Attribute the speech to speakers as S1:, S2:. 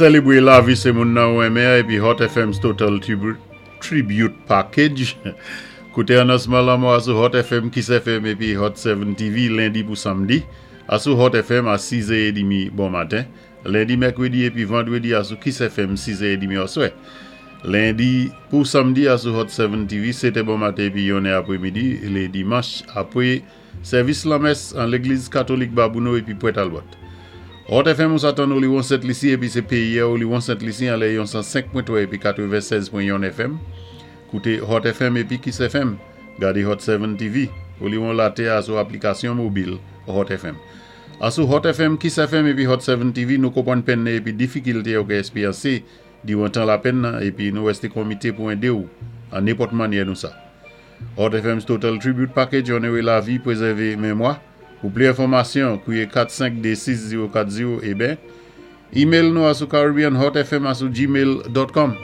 S1: Sélébwé lavi sé moun nan ou renmen épi Hot FM's Total Tribute Package. Kouté anonsman lanmò a sou Hot FM, Kiss FM épi Hot 7 TV lendi pou samdi a sou Hot FM a 6 è édmi bon maten, lendi, mèkwédi épi vandwédi a sou Kiss FM 6 è édmi oswè. Lendi pou samdi a sou Hot 7 TV 7 è bon maten épi 1 è apwémidi lé dimanch apwé Sèvis lanmès an Legliz Katolik Babouno epi Pwè Talbòt. Hot FM ou sa tann Oliwon Sent Lisi epi se peyi a Oliwon Sent Lisi anlè yon 105 pwen 3 epi 96 pwen yonn FM. Koute Hot FM epi Kiss FM. Gade Hot 7 TV. Oliwon latè a sou aplikasyon mobil Hot FM. A sou Hot FM, Kiss FM epi Hot 7 TV nou konpwann penn nan epi difikilte ou ka esperyanse diwan tan lapenn nan epi nou rèste konmite pou ende ou an nenpòt mannyè nou sa. Hot FM's Total Tribute Package Onore lavi, prezève memwa. Pou pli enfòmasyon, kwiye 4 5 2 6 0 4 0 eben, email nou a sou caribbeanhotfm a sou gmail dot com.